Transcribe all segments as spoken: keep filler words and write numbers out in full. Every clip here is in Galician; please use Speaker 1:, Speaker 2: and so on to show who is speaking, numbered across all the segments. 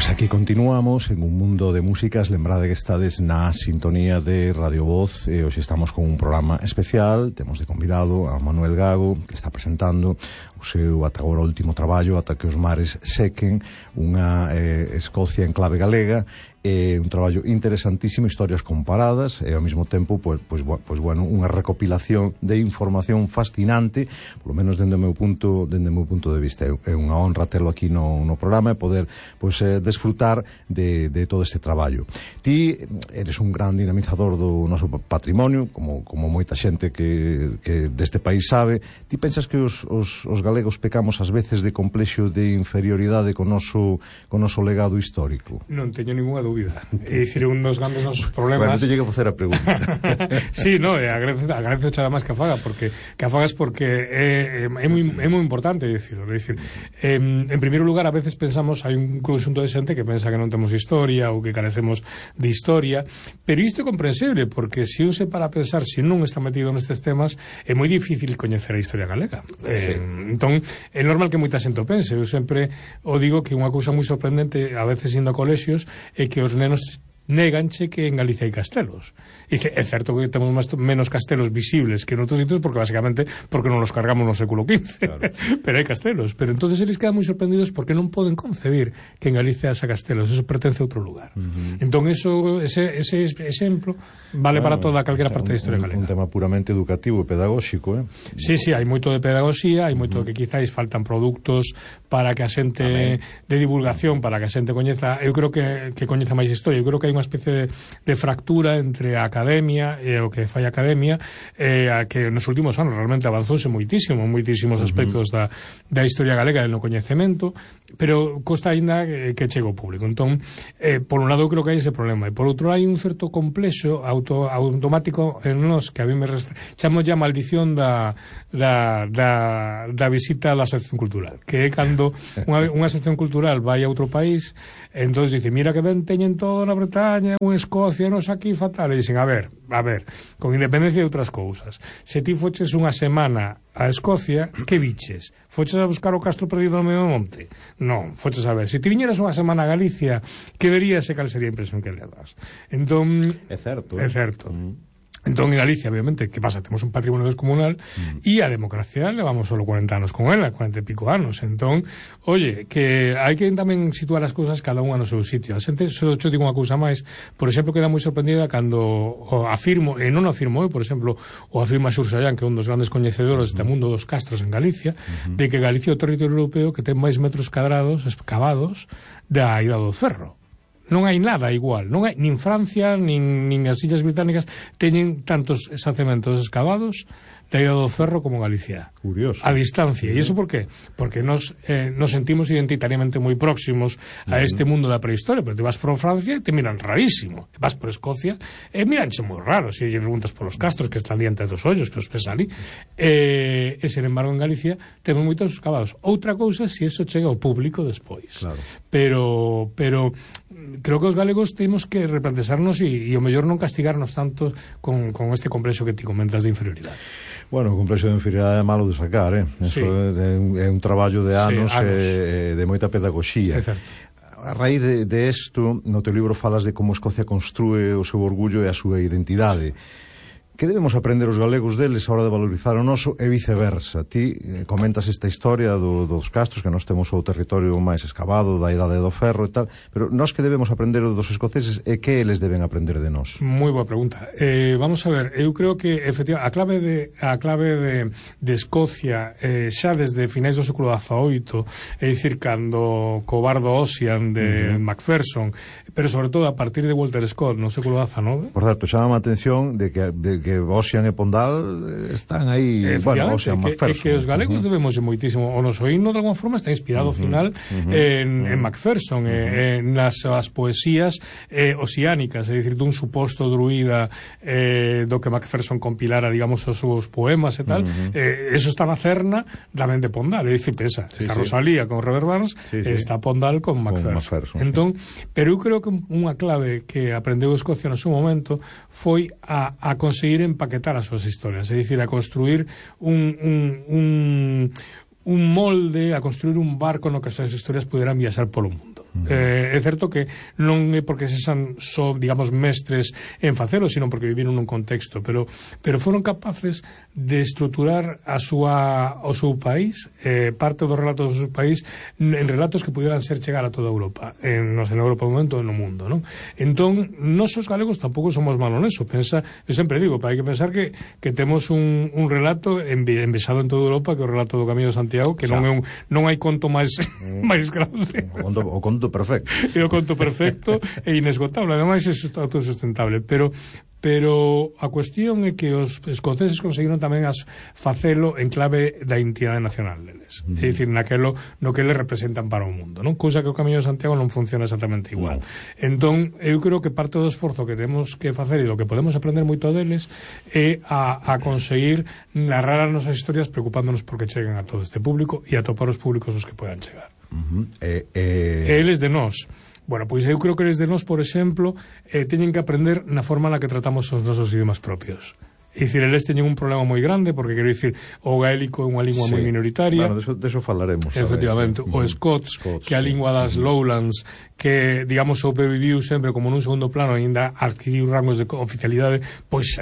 Speaker 1: Pois aquí continuamos en un mundo de músicas. Lembrade que estades na sintonía de Radio Voz e hoxe estamos con un programa especial. Temos de convidado a Manuel Gago, que está presentando o seu ata agora último traballo, Ata que os mares sequen, unha eh, Escocia en clave galega. É un traballo interesantísimo, historias comparadas e ao mesmo tempo, pois, pois, pois bueno, unha recopilación de información fascinante, polo menos dende o meu punto, dende o meu punto de vista. É unha honra telo aquí no, no programa e poder pois, eh, desfrutar de, de todo este traballo. Ti eres un gran dinamizador do noso patrimonio, como, como moita xente que, que deste país sabe. Ti pensas que os, os, os galegos pecamos ás veces de complexo de inferioridade co noso, co noso legado histórico?
Speaker 2: Non teño ninguna dúbida. É dicir, un dos grandes nosos problemas.
Speaker 1: Bueno, te llego a facer a pregunta.
Speaker 2: Sí, no, agradezo, agradezo xa máis que a faga, porque que a fagas porque é, é, moi, é moi importante dicirlo. É dicir, eh, en primeiro lugar, a veces pensamos, hai un conxunto de xente que pensa que non temos historia ou que carecemos de historia, pero isto é comprensible, porque se un se para a pensar, se non está metido nestes temas, é moi difícil coñecer a historia galega. Eh, sí. Entón, é normal que moita xente o pense. Eu sempre o digo que unha cousa moi sorprendente, a veces indo a colexios, é que os nenos néganche que en Galicia hai castelos. E dice, é certo que temos máis, menos castelos visibles que en outros sitios, porque basicamente porque non los cargamos no século quince. Claro. Pero hai castelos. Pero entonces eles quedan moi sorprendidos porque non poden concebir que en Galicia haxa castelos. Eso pertence a outro lugar. Uh-huh. Entón, eso, ese, ese exemplo vale bueno, para toda calquera parte da historia galega.
Speaker 1: Un tema puramente educativo e pedagóxico, eh?
Speaker 2: Sí, sí, hai moito de pedagogía, hai moito uh-huh. que quizáis faltan produtos para que a xente Amén. de divulgación, para que a xente coñeza, eu creo que, que coñeza máis historia. Eu creo que hai unha especie de, de fractura entre a academia e o que fai a academia, eh, a que nos últimos anos realmente avanzouse moitísimo, moitísimos aspectos uh-huh. da, da historia galega e no coñecemento, pero costa aínda que, que chegue ao público. Entón, eh, por un lado, eu creo que hai ese problema, e por outro hai un certo complexo auto, automático en nos que a mí me resta, chamo ya maldición da, da, da, da visita á asociación cultural, que é cando unha, unha asociación cultural vai a outro país, entón dice, mira que ben teñen todo na Bretaña, unha Escocia, nos aquí fatal, e dicen, a ver, a ver, con independencia de outras cousas, se ti foches unha semana a Escocia, que viches? Foches a buscar o castro perdido no medio do monte? Non, foches a ver. Se ti viñeras unha semana a Galicia, que verías e cal sería a impresión que le das? Entón,
Speaker 1: é certo,
Speaker 2: é certo. Mm. Entón, en Galicia, obviamente, que pasa? Temos un patrimonio descomunal mm. e a democracia levamos solo cuarenta anos con ela, cuarenta e pico anos. Entón, oye, que hai que tamén situar as cousas cada unha no seu sitio. A xente, só te digo unha cousa máis, por exemplo, queda moi sorprendida cando afirmo, e non afirmo eu, por exemplo, o afirma Xur Sallán, que é un dos grandes coñecedores deste mundo dos castros en Galicia, mm-hmm. de que Galicia é o territorio europeo que ten máis metros cadrados excavados da Ida do Ferro. Non hai nada igual, non hai, nin Francia, nin, nin as Illas Británicas teñen tantos xacementos excavados da Ida do Ferro como Galicia.
Speaker 1: Curioso.
Speaker 2: A distancia. E iso por qué? Porque nos, eh, nos sentimos identitariamente moi próximos a uh-huh. este mundo da prehistoria, pero te vas por Francia e te miran rarísimo. Vas por Escocia e miranche moi raro se lle preguntas por os castros que están diante dos ollos, que os ves ali. E, e, sen embargo, en Galicia temos moitos excavados. Outra cousa se iso chega ao público despois.
Speaker 1: Claro.
Speaker 2: Pero, pero creo que os galegos temos que replantearnos e, e o mellor non castigarnos tanto con, con este complexo que ti comentas de inferioridade.
Speaker 1: Bueno, o complexo de inferioridade é malo de sacar, eh? Eso sí. é, un, é un traballo de anos, sí, anos. E, de moita pedagogía.
Speaker 2: É certo.
Speaker 1: A raíz de, de esto, no teu libro falas de como Escocia construe o seu orgullo e a súa identidade. Que debemos aprender os galegos deles a hora de valorizar o noso e viceversa? Ti eh, comentas esta historia do, dos castros, que nós temos o territorio máis excavado da Idade do Ferro e tal, pero nós que debemos aprender dos escoceses e que eles deben aprender de nós?
Speaker 2: Moi boa pregunta. Eh, vamos a ver, eu creo que efectivamente a clave de a clave de, de Escocia eh, xa desde finais do século dezaoito, é dicir, cando co bardo Ossian de uh-huh. Macpherson, pero sobre todo a partir de Walter Scott no século dezanove.
Speaker 1: Por certo, chama a atención de que, de que Ossian e Pondal están aí, bueno, Ossian, Macpherson. É que os galegos uh-huh. debemos moitísimo, o noso himno de alguma forma está inspirado ao uh-huh. final uh-huh. en, en Macpherson, uh-huh. eh, en nas as poesías eh, oceánicas, é dicir, dun suposto druida eh, do que Macpherson compilara, digamos, os seus poemas e tal, uh-huh. eh, eso está na cerna tamén de Pondal, é dicir, pesa, sí, está sí. Rosalía con Robert Burns, sí, sí. está Pondal con Macpherson. Con Macpherson entón, sí. Pero eu creo que unha clave que aprendeu Escocia no seu momento foi a, a conseguir empaquetar as súas historias, é dicir, a construir un, un, un, un molde, a construir un barco no que as súas historias puderan viaxar polo mundo.
Speaker 2: Uh-huh. Eh, é certo que non é porque se san só, digamos, mestres en facelo, sino porque viviron nun contexto, pero pero foron capaces de estruturar a súa o seu país, eh, parte dos relatos do seu país en relatos que pudieran ser chegar a toda Europa, en, non sei, en Europa no momento no mundo, non? Entón, nós os galegos tampouco somos malos neso, pensa, eu sempre digo, hai que pensar que, que temos un, un relato envexado en toda Europa, que é o relato do Camiño de Santiago, que non é un, non hai conto máis máis grande.
Speaker 1: O conto, o conto perfecto.
Speaker 2: É o conto perfecto e inesgotable, ademais é autosustentable, pero pero a cuestión é que os escoceses conseguiron tamén as facelo en clave da identidade nacional deles, mm. é dicir, naquelo no que eles representan para o mundo, non? Cousa que o Camiño de Santiago non funciona exactamente igual. No. Entón, eu creo que parte do esforzo que temos que facer e do que podemos aprender moito deles é a, a conseguir narrar as nosas historias preocupándonos porque cheguen a todo este público e a topar os públicos os que podan chegar.
Speaker 1: Uh-huh. eh, eh...
Speaker 2: Eles de nós. Bueno, pois eu creo que eles de nós, por exemplo, eh, teñen que aprender na forma na que tratamos os nosos idiomas propios. É dicir, eles teñen un problema moi grande, porque quero dicir, o gaélico é unha lingua sí. moi minoritaria.
Speaker 1: Bueno, de eso falaremos.
Speaker 2: Efectivamente, o Scots, Scots, que é a lingua das Lowlands, que, digamos, sobreviviu sempre como nun segundo plano, ainda adquiriu rangos de oficialidade, pois,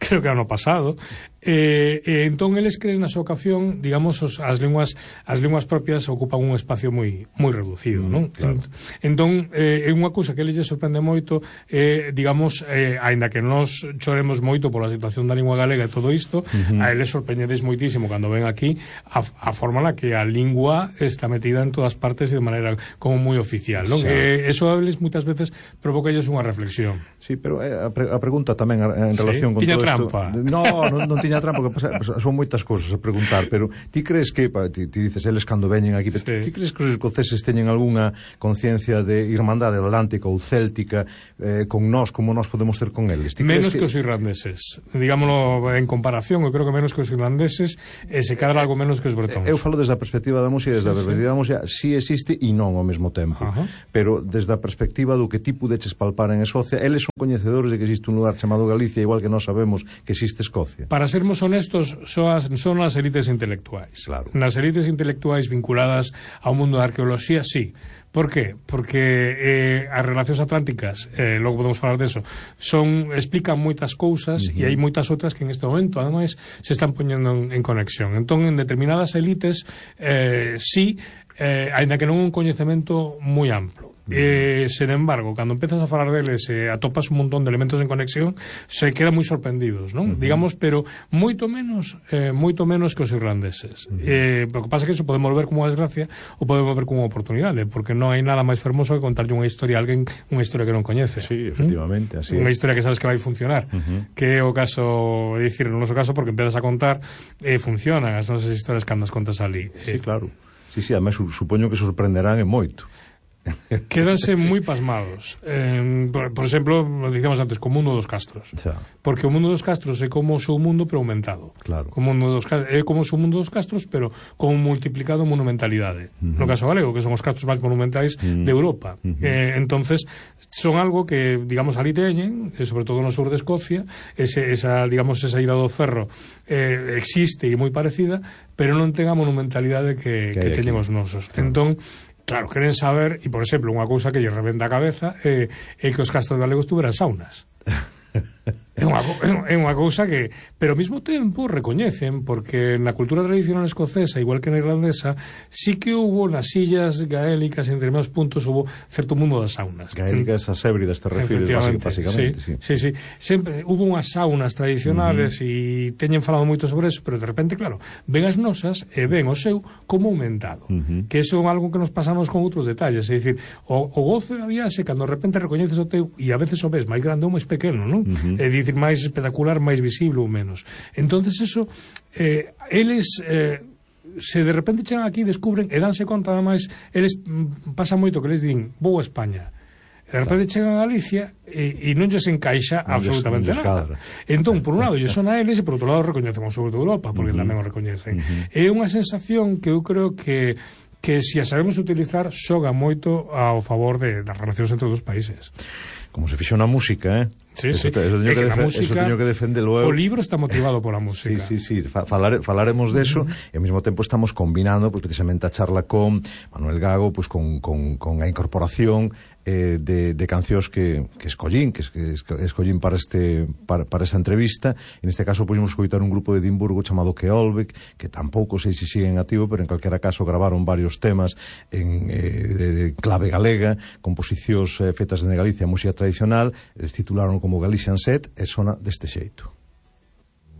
Speaker 2: creo que ano pasado. E, e entón eles creen na súa ocasión, digamos, os, as linguas as linguas propias ocupan un espacio moi moi reducido, non? Claro. Entón, eh, é unha cousa que eles lle sorprende moito, eh, digamos, eh, aínda que nós choremos moito pola situación da lingua galega e todo isto, uh-huh. a eles sorprendedes moitísimo cando ven aquí a, a forma na que a lingua está metida en todas partes e de maneira como moi oficial, non? Sí. Eh, eso a eles moitas veces provoca ellos unha reflexión.
Speaker 1: Sí, pero eh, a, pre a pregunta tamén en relación sí. con
Speaker 2: tiña
Speaker 1: todo
Speaker 2: trampa.
Speaker 1: isto... No, non, non tiña trampa, porque son moitas cousas a preguntar, pero ti crees que, pa, ti, ti dices eles cando veñen aquí, sí. ti crees que os escoceses teñen algunha conciencia de irmandade atlántica ou céltica eh, con nós, como nós podemos ter con eles?
Speaker 2: Menos que... que os irlandeses, digámoslo en comparación, eu creo que menos que os irlandeses, e se cadra algo menos que os bretóns.
Speaker 1: Eu falo desde a perspectiva da música, desde sí, a perspectiva sí. da música, si existe e non ao mesmo tempo, uh-huh. pero desde a perspectiva do que ti pudeches palpar en Escocia, eles son coñecedores de que existe un lugar chamado Galicia, igual que nós sabemos que existe Escocia.
Speaker 2: Para sermos honestos, son as, son as elites intelectuais.
Speaker 1: Claro.
Speaker 2: Nas elites intelectuais vinculadas ao mundo da arqueoloxía, sí. Por qué? Porque eh, as relacións atlánticas, eh, logo podemos falar deso, son, explican moitas cousas, uh-huh. e hai moitas outras que en este momento, ademais, se están poñendo en, en conexión. Entón, en determinadas elites, eh, sí, eh, aínda que non un coñecemento moi amplo. Eh, sen embargo, cando empezas a falar deles e eh, atopas un montón de elementos en conexión, se quedan moi sorprendidos, non? Uh-huh. Digamos, pero moito menos eh, moito menos que os irlandeses. Uh-huh. eh, o que pasa é que eso podemos ver como unha desgracia ou podemos ver como unha oportunidade, porque non hai nada máis fermoso que contarlle unha historia a alguén, unha historia que non coñece.
Speaker 1: Sí, efectivamente, ¿Mm? así
Speaker 2: Unha
Speaker 1: es.
Speaker 2: historia que sabes que vai funcionar, uh-huh. que é o caso, é dicir, no noso caso, porque empezas a contar eh, funcionan as nosas historias cando as contas ali.
Speaker 1: Sí, eh, claro. Sí, sí, además supoño que sorprenderán en moito.
Speaker 2: Quédanse moi pasmados. Eh, por, por exemplo, dicíamos antes, co mundo dos castros.
Speaker 1: Xa.
Speaker 2: Porque o mundo dos castros é como o seu mundo pero aumentado.
Speaker 1: Claro.
Speaker 2: O mundo dos, é como o seu mundo dos castros pero con multiplicado monumentalidade. Uh-huh. No caso galego, que son os castros máis monumentais uh-huh. de Europa. Uh-huh. Eh, entonces, son algo que, digamos, ali teñen, e sobre todo no sur de Escocia, ese, esa, digamos, esa ida do ferro eh, existe e moi parecida, pero non ten a monumentalidade que, que, que teñen os nosos. Claro. Entón, claro, queren saber, e por exemplo, unha cousa que lle rebenta a cabeza é, é que os castros galegos tuveran saunas. É unha, é unha cousa que, pero ao mesmo tempo recoñecen, porque na cultura tradicional escocesa, igual que na irlandesa, sí que hubo nas illas gaélicas, en determinados puntos hubo certo mundo das saunas.
Speaker 1: Gaélicas, as hébridas, te refires básicamente.
Speaker 2: Sí, sí, sí, sí. Sempre hubo unhas saunas tradicionales e uh-huh. teñen falado moito sobre eso, pero de repente, claro, ven as nosas e ven o seu como aumentado. Uh-huh. Que eso é algo que nos pasamos con outros detalles, é dicir, o, o gozo da viaxe, cando de repente recoñeces o teu e a veces o ves máis grande ou máis pequeno, non? Uh-huh. É dicir, máis espectacular, máis visible ou menos. Entonces eso, eh, eles eh, se de repente chegan aquí, descubren e danse conta, ademais, eles mm, pasa moito que les din, vou a España. De repente chegan a Galicia e, e non lles encaixa non absolutamente lles, nada. Entón, por un lado, lles son a eles e por outro lado recoñecen o sur de Europa, porque uh-huh. tamén o recoñecen. Uh-huh. É unha sensación que eu creo que que se a sabemos utilizar xoga moito ao favor de, das relacións entre os dos países.
Speaker 1: Como se fixo na música, eh?
Speaker 2: Sí,
Speaker 1: eso,
Speaker 2: sí.
Speaker 1: Te, eso, teño
Speaker 2: que,
Speaker 1: que,
Speaker 2: que
Speaker 1: música, eso teño que defendelo eu.
Speaker 2: O libro está motivado pola música.
Speaker 1: Sí, sí, sí, Falare, falaremos deso, uh-huh. E ao mesmo tempo estamos combinando pues, precisamente a charla con Manuel Gago, pues, con, con, con a incorporación eh, de, de cancións que, que escollín, que, que escollín para, este, para, para esta entrevista. En este caso pudimos escoitar un grupo de Edimburgo chamado Keolbeck, que tampouco sei se siguen activo, pero en calquera caso gravaron varios temas en eh, de, de clave galega, composicións eh, fetas en Galicia, música tradicional, eles titularon como Galician Set, e sona deste xeito.